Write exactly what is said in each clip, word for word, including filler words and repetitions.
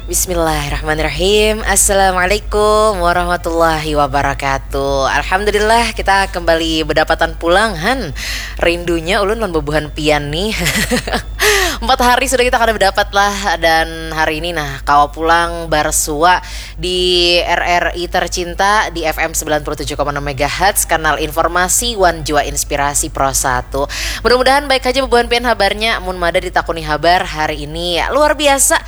Bismillahirrahmanirrahim. Assalamualaikum warahmatullahi wabarakatuh. Alhamdulillah, kita kembali berdapatan pulang, han. Rindunya ulun lawan bubuhan pian nih. Empat hari sudah kita kada berdapat lah, dan hari ini nah kawa pulang bersua di R R I tercinta di F M sembilan puluh tujuh koma enam megahertz, kanal informasi wan jua inspirasi Pro satu. Mudah-mudahan baik aja bubuhan pian habarnya. Mun mada ditakuni habar hari ini, ya, luar biasa.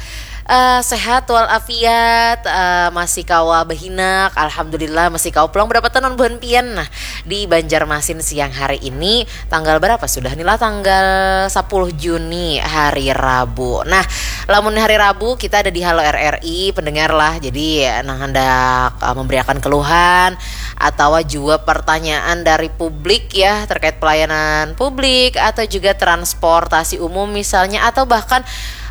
Eh, sehat walafiat, eh, masih kawa behinak, alhamdulillah, masih kawa pulang berdapatan lawan buhan pian. Nah, di Banjarmasin siang hari ini, tanggal berapa sudah nih lah? Tanggal sepuluh Juni, hari Rabu. Nah, lamun hari Rabu kita ada di Halo R R I, pendengar lah. Jadi, nang hendak, eh, memberiakan keluhan atau juga pertanyaan dari publik ya, terkait pelayanan publik atau juga transportasi umum misalnya, atau bahkan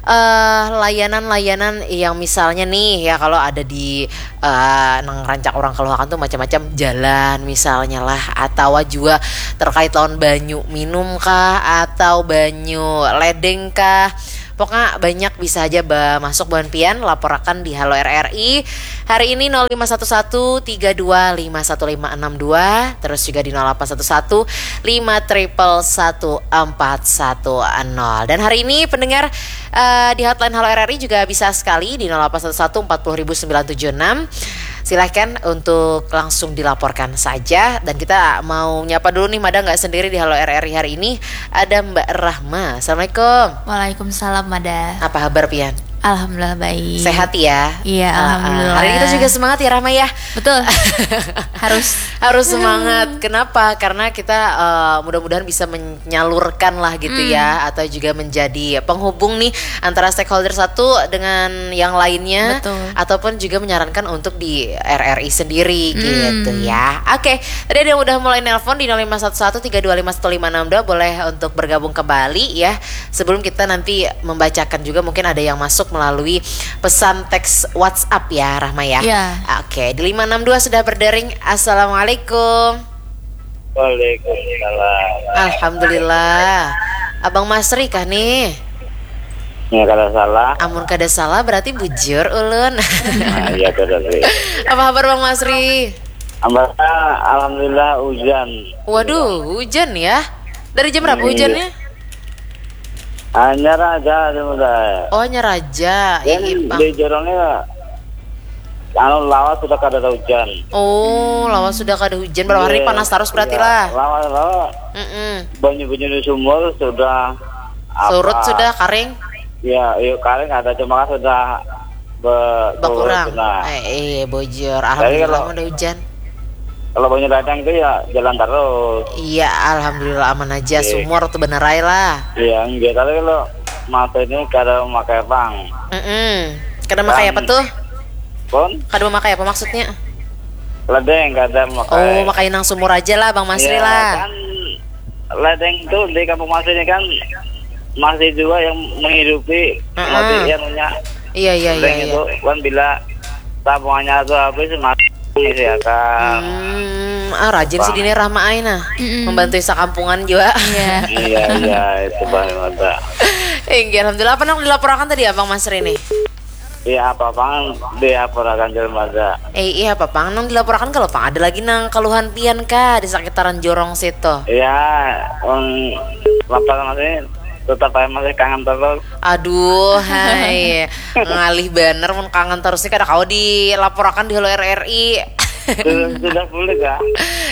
eh, layanan-layanan yang misalnya nih ya, kalau ada di, eh, nang rancak orang keluarkan tuh macam-macam, jalan misalnya lah, atau juga terkait lawan banyu minum kah, atau banyu ledeng kah. Pokoknya banyak, bisa aja ba-, masuk buhan pian, laporakan di Halo R R I. Hari ini nol lima satu satu tiga dua lima satu lima enam dua, terus juga di nol delapan satu satu lima triple satu empat satu nol. Dan hari ini pendengar, eh, di hotline Halo R R I juga bisa sekali di nol delapan satu satu empat puluh ribu sembilan tujuh enam. Silahkan untuk langsung dilaporkan saja. Dan kita mau nyapa dulu nih, mada nggak sendiri di Halo R R I hari ini. Ada Mbak Rahma. Assalamualaikum. Waalaikumsalam, Mada. Apa habar pian? Alhamdulillah baik. Sehat ya? Iya, ah, ah, alhamdulillah. Hari ini kita juga semangat ya, Rahma ya? Betul. Harus. Harus semangat. Kenapa? Karena kita, eh, mudah-mudahan bisa menyalurkan lah gitu ya, hmm, atau juga menjadi penghubung nih antara stakeholder satu dengan yang lainnya, betul, ataupun juga menyarankan untuk di R R I sendiri, hmm, gitu ya. Oke, tadi ada yang udah mulai nelpon di nol lima satu satu tiga dua lima satu lima enam dua, boleh untuk bergabung kembali ya. Sebelum kita nanti membacakan juga, mungkin ada yang masuk melalui pesan teks WhatsApp ya, Rahma ya. Iya. Oke, di lima enam dua sudah berdering. Assalamualaikum. Waalaikumsalam. Alhamdulillah. Abang Masri kah nih? Ya, kada salah. Amun kada salah berarti bujur ulun. Nah, iya, kada sih. Apa kabar Bang Masri? Kabarnya, alhamdulillah, hujan. Waduh, hujan ya? Dari jam berapa, hmm, hujannya? Hanyar aja, ada mulai. Oh, hanyar aja. Dan iya, Bang, di jorongnya, anu, lawas sudah kada ada hujan. Oh, lawas sudah kada hujan. Berapa hari, iya, panas terus berarti, iya, lah. Lawas, lawas. Mm-mm. Banyu-banyu di sumur sudah, surut apa, sudah, karing? Ya, iya, karing ada, cuma kan sudah be-, berkurang. Nah. Eh, eh, bujur. Tapi alhamdulillah kalau, mun ada hujan. Kalau banyu datang itu ya jalan terus. Iya, alhamdulillah aman aja. Oke. Sumur tuh bener aja lah. Iya, enggak. Tapi kalau masa ini kada memakai pang. Mm-mm. Kada memakai apa tuh? Pun? Kada memakai apa maksudnya? Ledeng kada memakai. Oh, makai nang sumur aja lah, Bang Masri, iya, lah. Kan ledeng tuh di Kampung Masri ini kan masih juga yang menghidupi, heeh, masih yang punya, iya, iya, iya, ledeng iya, itu kan bila tabungannya tuh habis, masih mengisi akan. Hmm, ah, rajin sih dini Rahma ai nah. Mm-mm. Membantu sakampungan juga. Iya. Iya, iya, itu bahan mata. Inggih, alhamdulillah. Apa nang dilaporakan tadi, Abang Masri nih? Iya, apa pang dilaporakan, Jar Mada? Eh, iya, apa pang nang dilaporakan, kalau pang ada lagi nang keluhan pian kah di sekitaran jorong situ? Iya, wong lapar masih, tetap aja masih kangen terus. Aduh, hai. Ngalih banar mun kangen terus nih, kada kawa dilaporakan di Halo R R I. Sudah, sudah bulik kah?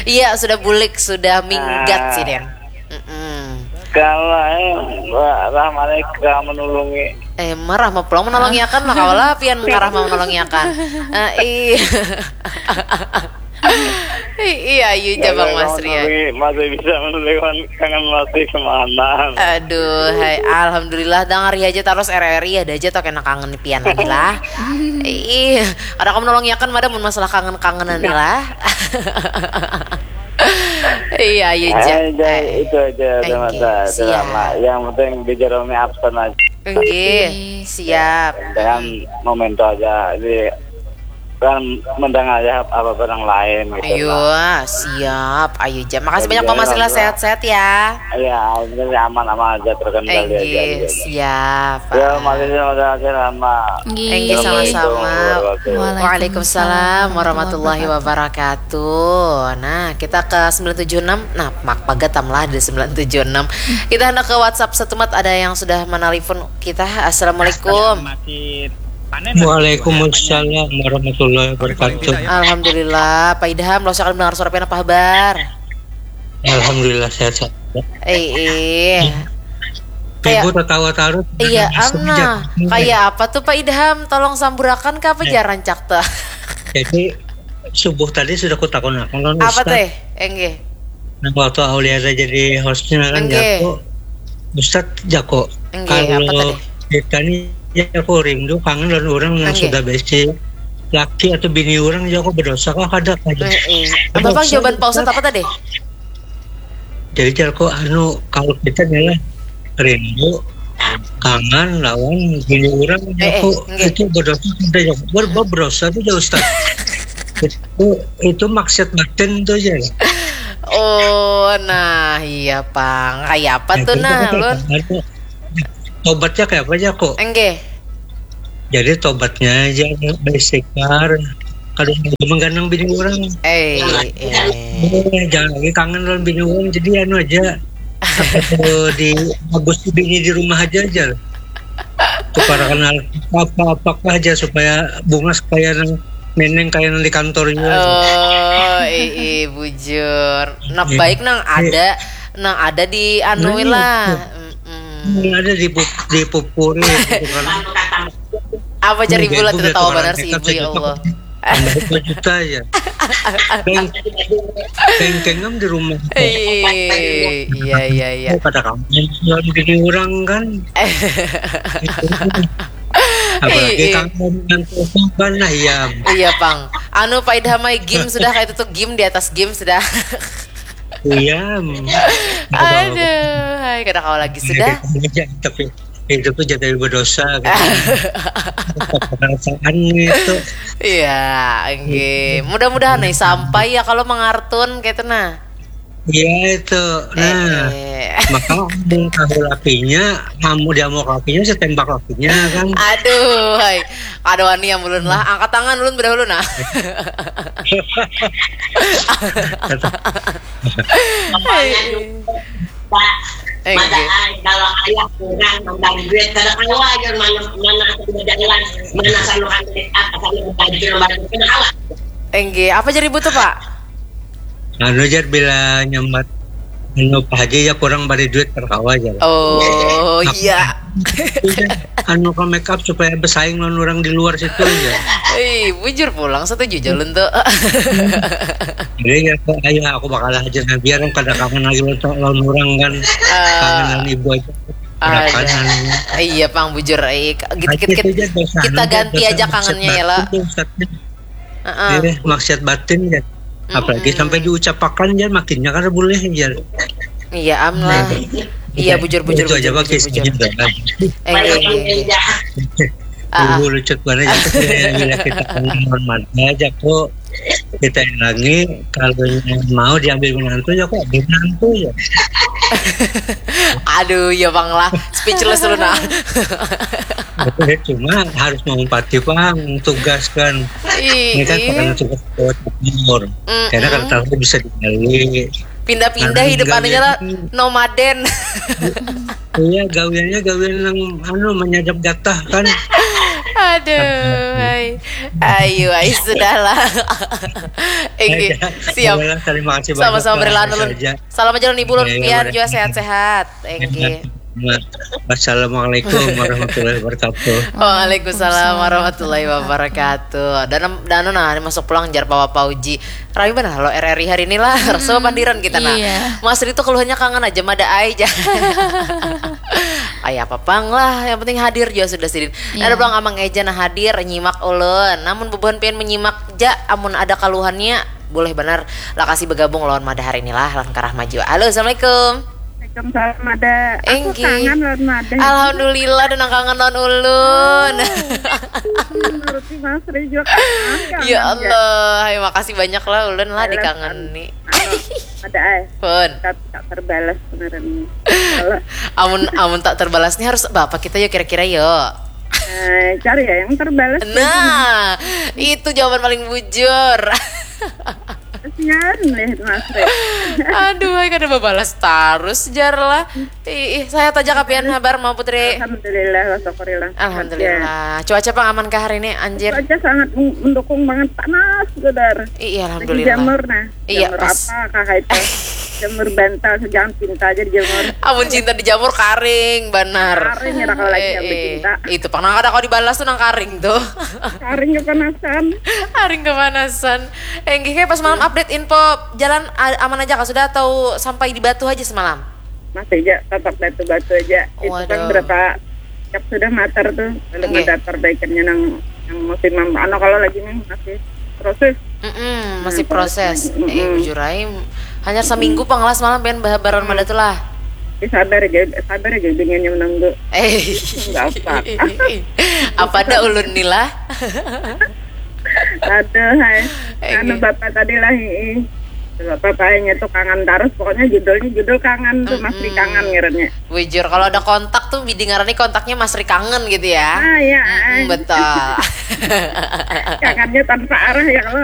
Iya, sudah bulik, sudah minggat, ah, sih, Den. Mm-mm. Kalau, eh, Mbak Rahmani kah menulungi? Eh, marah mau pulang menolongi akan lah, kawalah pian karah mau menolongi akan. Eh, iya. Iya, ayu ja, Bang Masri, ya. Masih bisa menulungi, kangen masih kemana? Aduh, hai, alhamdulillah, dangari aja terus R R I, ada aja toh kena kangen pian lagi lah. Iya, kada kawa menolongi akan, Mada, mun masalah kangen-kangenan nih lah. Iya, ayu ja. Eh, itu aja, oke, sama-sama. Siap. Selamat. Yang penting di Jerome absen aja. Oke, siap. Dengan memento aja. Jadi, kan mendengar ya apa barang lain gitu. Iya, siap. Ayo, jam. Makasih banyak Bang Masri lah, sehat-sehat ya. Ya, ini aman-aman aja, terkendali aja. Enggih, siap. Ya, makasih udah hadir sama. Enggih, sama-sama. Waalaikumsalam warahmatullahi wabarakatuh. Nah, kita ke sembilan tujuh enam. Nah, mak pagat tam lah di sembilan tujuh enam. Kita hendak ke WhatsApp setumat, ada yang sudah menelpon kita. Assalamualaikum. Masih panen. Waalaikumsalam warahmatullahi wabarakatuh. Alhamdulillah, Pak Idham, lo akan mendengar suara pian, apa kabar? Alhamdulillah, sehat-sehat. Eh, eh. Ibu tertawa tarut. Iya, amna. Kayak apa tuh, Pak Idham? Tolong samburakan ke apa, ya, jaran cak tuh. Jadi subuh tadi sudah kutakunakan lawan apa teh? Enggih. Nah, waktu Auliaza jadi hostnya kan, jaku, Ustaz, jaku, kalau kita nih, jaku, rindu, kangen lawan orang yang sudah besi laki atau bini orang, jaku, berdosa kah kada? Apa, Bang, jawaban Pak Ustaz apa tadi? Jadi, jaku, anu, kalau kita nih lah rindu, kangen lawan bini orang, jaku, itu berdosa kada, jaku? Ber- ber- berdosa tuh, ya, Ustaz. Itu, itu maksiat batin tuh, ya. Oh, nah, iya, Pang. Kayak apa tuh, nah, Lun? Tobatnya kayak apa, jaku? Enggih. Jadi tobatnya aja beristighfar. Kalau mau mengganang bini orang, eh, eh. Jangan lagi kangen lawan bini orang. Jadi anu aja, di bagus bini di rumah aja, aja. Tukar kenal apa-apa aja supaya bungas kayak nang neneng kayak nang di kantor juga. Oh, eh, eh, bujur. Nah, baik nang ada, nang ada di anu lah. Ini ada di pup, di pupuri gitu kan. Apa cari bulat, tertawa benar si ibu, ya Allah. Tambah dua juta ya. Beng, bengkengam di rumah. Iya, iya, iya. Pada kamu yang bini orang kan. Apalagi kamu yang korban lah ya. Iya, Pang. Anu, Pak Idhamai, game sudah, kayak itu tuh, game di atas game sudah. Iya. Aduh, hai, kada kawa lagi sudah. Tapi itu tuh jadi berdosa gitu. Perasaan itu. Iya, enggih. Mudah-mudahan nih sampai ya kalau mengartun gitu nah. Iya itu. Nah, eh, eh. Maka mau tahu lakinya, kamu dia mau lakinya, saya tembak lakinya kan. Aduh, hai. Ada wani yang ulun lah, angkat tangan ulun berdahulu nah. Pak, eh, mata, kalau ayah kurang nambah duit, kada kawa aja mana mana aku berjalan, mana sanu kami apa sanu baju baju kada kawa. Enggih, apa jadi butuh, Pak? Anu jar, bila nyambat anu Pak Haji ya kurang bari duit terkawa aja. Oh iya. Anu ke make up supaya bersaing lawan orang di luar situ aja. Eh, bujur pulang, setuju jalun tuh. Jadi ya, ayo aku bakal aja nah, biar kada kangen lagi lawan orang kan. Uh, kangen ibu aja. Ada. Iya, Pang, bujur. Eh, kita, kita, kita ganti aja kangennya ya lah. Uh-uh. Eh, maksiat batin ya. Apalagi mm-mm. Sampai diucapakan ya, makinnya kan boleh ya. Iya, am lah. Nah, iya, bujur, bujur, bujur, aja bujur, bujur. Eh, iya, iya, iya. Dulu lucu banget ya, bila kita hormat aja kok. Kita lagi kalau mau diambil menantu ya kok menantu ya. Aduh ya bang lah, speechless lu nah. Cuma harus mengumpati bang tugas kan. Ini kan karena tugas buat umur. Karena kan tahu bisa digali. Pindah-pindah hidup anunya lah, nomaden. Iya, gawiannya gawian yang anu menyadap jatah kan. Aduh, hai. Ayo, ayo sudahlah. Enggih, siap. Terima kasih. Sama-sama berlalu. Salam aja nih bulun pian juga sehat-sehat. Enggih. Wassalamualaikum warahmatullahi wabarakatuh. Waalaikumsalam warahmatullahi wabarakatuh. Dan dan nah masuk pulang jar Papa Uji. Rami benar lo R R I hari ini lah. Rasa pandiran kita nah. Iya. Mas Rito keluhannya kangen aja mada ai aja. Ay apa pang lah, yang penting hadir juga sudah sidin. Iya. Ada pulang Amang Eja nah hadir nyimak ulun. Namun bubuhan pian menyimak ja amun ada kaluhannya boleh benar lah kasih bergabung lawan mada hari ini lah langkah maju. Halo, assalamualaikum. Waalaikumsalam, Mada. Aku Enggih. Kangen lawan Mada. Alhamdulillah, ada nang kangen lawan ulun. Menurutku Mas Ri juga kangen, kangen Ya ja. Allah, hai, makasih banyak lah ulun lah Balas dikangen nih. Anu, Mada, eh. Pun. Tak, tak terbalas sebenarnya. Kalau Amun amun tak terbalas nih harus apa kita ya kira-kira yo. eh, cari ya yang terbalas. Nah, itu jawaban paling bujur. Kasihan deh Mas Ri. Aduh, hai, kada babalas terus jar lah. Ih, ih, saya aja kapian habar mau Putri. Alhamdulillah, wa syukurillah. Alhamdulillah. Cuaca pang aman kah hari ini, anjir? Cuaca sangat men- mendukung banget, panas, Godar. Iya, Lagi alhamdulillah. jamur, nah. Iya, Jamur pas. Apa, kakak itu? Jamur bantal, jangan cinta aja dijamur. Amun cinta dijamur karing, banar. Karing ya, kalau lagi yang Eh, eh. dicinta. Itu pang nang kada kau dibalas tuh nang karing tuh. Karing kepanasan. Karing kepanasan. Enggih, kayak pas malam update info jalan a- aman aja kah? Sudah atau sampai di Batu aja semalam? Masih aja, tatap batu-batu aja. Itu kan Waduh. Berapa cap sudah matar tuh. Belum Oke. Ada perbaikannya nang, nang musim am-, anu, kalau lagi nih masih proses. Mm-mm, masih Nah, proses. Mm-mm. Eh, bujur aja. Hanya seminggu pang lah semalam pengen bahabaran Mada tuh lah. Ya, sabar aja, sabar aja, dengan yang menunggu. Eh, Nggak apa. Apa ada ulun nih lah? Aduh, hai. Eh, Anu, oke. Bapak tadi lah, ih. Bapak kayaknya tuh kangen terus. Pokoknya judulnya judul kangen tuh, Mas Ri Mm-mm. Kangen ngarannya. Bujur, kalau ada kontak tuh bidi ngarannya kontaknya Mas Ri Kangen gitu ya. Ah, iya. Mm-mm, betul. Kangennya tanpa arah ya kalau.